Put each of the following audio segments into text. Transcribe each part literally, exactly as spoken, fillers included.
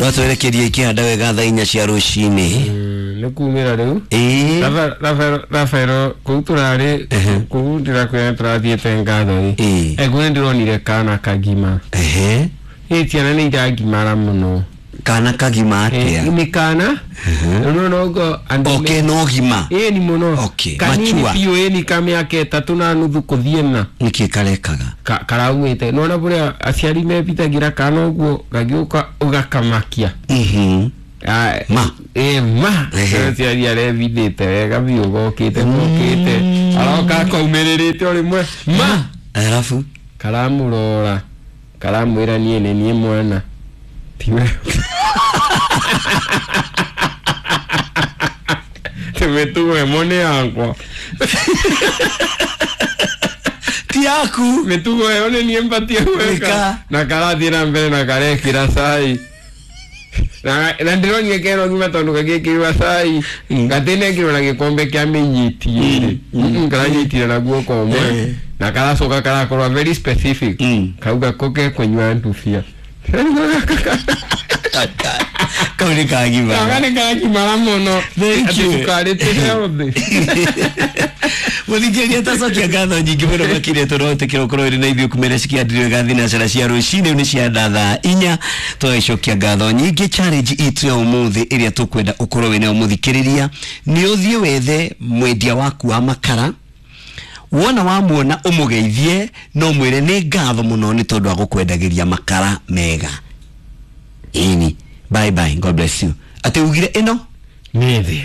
No twerekerie ikihanda wega thaa inya cia rũcinĩ. Nĩ kumĩra rĩu. Ĩĩ. Rafael Rafael kũu tũrarĩ kũu ndĩrakwĩra tũrathiĩte ngatho Ĩĩ. ĩ ekuo nĩ ndĩronire kana kagima. Ehe. Ĩ ciana nĩ iragimara mũno. Kana kagima Eh, atĩa? nĩ kana rĩu nogo andũ Okay, no gima. ĩni mũno. Okay, kanini mature. biũ ĩni ka mĩaka ĩtatũ na nuthu kũthiĩ na Nĩkĩ karekaga? Ka- karaumĩte nona bũrĩa aciari mebithagĩra kana ũguo gagĩũka ũgakamakia. Mhm. Ah, Ma. ĩ ma. Ehe. Aciari arebithĩte wega biũ gokĩte gokĩte aroka kaumĩrĩrĩte o rĩmwe ma. Alafu Karamũrora karamwĩra niĩ nĩ niĩ mwana tiwe mĩtugo ĩmwe nĩ yakwa. Ti yaku. Mĩtugo ĩyo nĩ niĩ mbatie gwĩka. Gwĩka. Na karathiĩ na mbere na karekĩra cai na na ndĩronire kena ũgima tondũ gagĩkĩrwo cai gatĩnekĩrwo na gĩkombe kĩa mĩnyiti ĩrĩ karanyitire na guoko ũmwe Eh. na karacoka karakorwo very specific. Mm. Kauga ko kekũnyua ndubia. Kau nĩ kagima. Kanga nĩ karagimara mũno. Thank Atĩ you. cukari ti healthy. Mũthikĩrĩria tacokia ngatho nyingĩ mũno makĩria tondũ wetĩkĩra ũkorwo ũrĩ na ithuĩ kumĩra cikiandirio thinacara cia rũcinĩ nĩ cia thaa inya tũgagĩcokia ngatho nyingĩ. Challenge itũ ya ũmũthĩ ĩrĩa tũkwenda ũkorwo wĩnayo mũthikĩrĩria nĩ ũthiĩ wethe mwendia waku wa makara wona wamuona ũmũgeithie no mwĩre nĩ ngatho mũno nĩ tondũ wa gũkwendagĩria makara mega. Ĩni, bye bye, God bless you. Atĩ ugire ĩno Nĩ thĩ.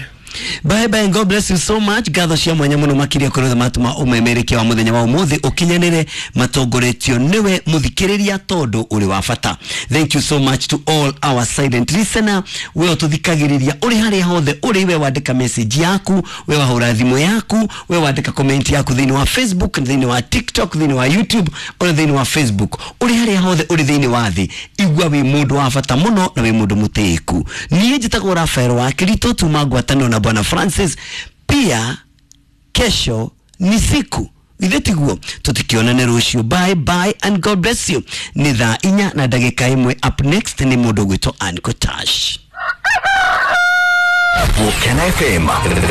Bye bye, God bless you so much. Ngatho cia mwanya muno makiria kuri othe matuma umemerekia wa muthenya wa umuthi ukinyanire matongoretio niwe muthikiriria tondu uri wa bata. Thank you so much to all our silent listener. We ututhikagiriria uri haria hothe uri, we wandika message yaku, we wahura thimu yaku, we wandika comment yaku thiini wa Facebook, thiini wa TikTok, thiini wa YouTube ona thiini wa Facebook. Uri haria hothe uri thiini wa thi igua wi mundu wa bata muno na wi mundu mutiiku. Niĩ njĩtagwo Rafael wa Kirito tuma ngwatanĩro na Bwana Francis. Pia kesho ni siku ithe tiguo tutikionane rũciũ. Bye bye and God bless you. Nĩ thaa inya na ndagĩka ĩmwe. Up next nĩ mũndũ ũgwĩtwo Ann Kotash. Volcano F M.